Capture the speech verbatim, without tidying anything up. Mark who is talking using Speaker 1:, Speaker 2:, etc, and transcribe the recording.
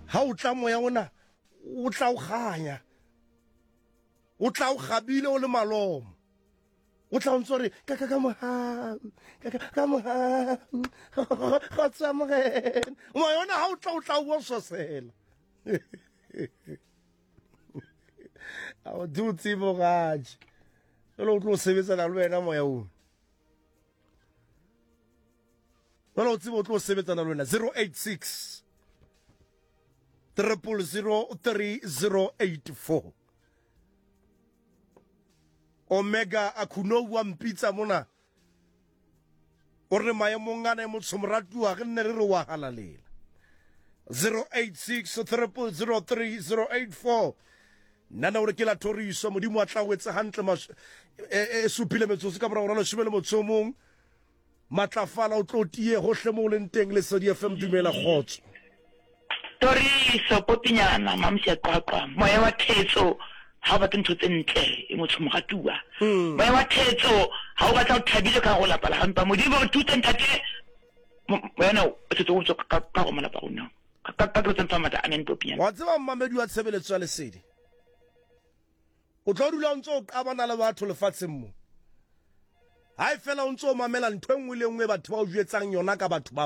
Speaker 1: Ha o tla moya ona o tla o kganya, o tla o kgabile o le malomo, o tla o ntse o re ka ka ka mohau, ka ka ka mohau, kgotsa Morena. Moya ona ha o tla o tla o bososela. A o di o tsebe gaje jalo o tlo sebetsana le wena moya o jalo o tsebe o tlo sebetsana le wena. Zero eight six triple zero three zero eight four. Omega Akhunou wa mpitsa mona o re maemong ana e motsho moratuwa re nne re re wa halalela. Zero eight six triple zero three zero eight four. Nna o re ke la thoriso modimo a tla o etse hantle mas e, e supile metsotso ka morago ga leshome le motso o mong. Matlafala o tlo tie hohle mo o leng teng. Lesedi F M, dumela kgotso.
Speaker 2: Thoriso popinyana mamsi a qwaqwa moya wa thetso ha o batle ntho tse ntle e motho moratuwa. Moya wa thetso ha o batla o thabile ka go lapa la hampa modimo re thute ntate moya o thetso o tswa ka ka go malapa rona ka ka ka tsa matla amen popinyana.
Speaker 1: Wa tseba mmamedi wa tshebeletso ya Lesedi, o tlo dula o ntse o qabana le batho lefatsheng mo. Ha e fela o ntse o mamela ntho e nngwe le nngwe batho ba o jwetsang yona ka batho ba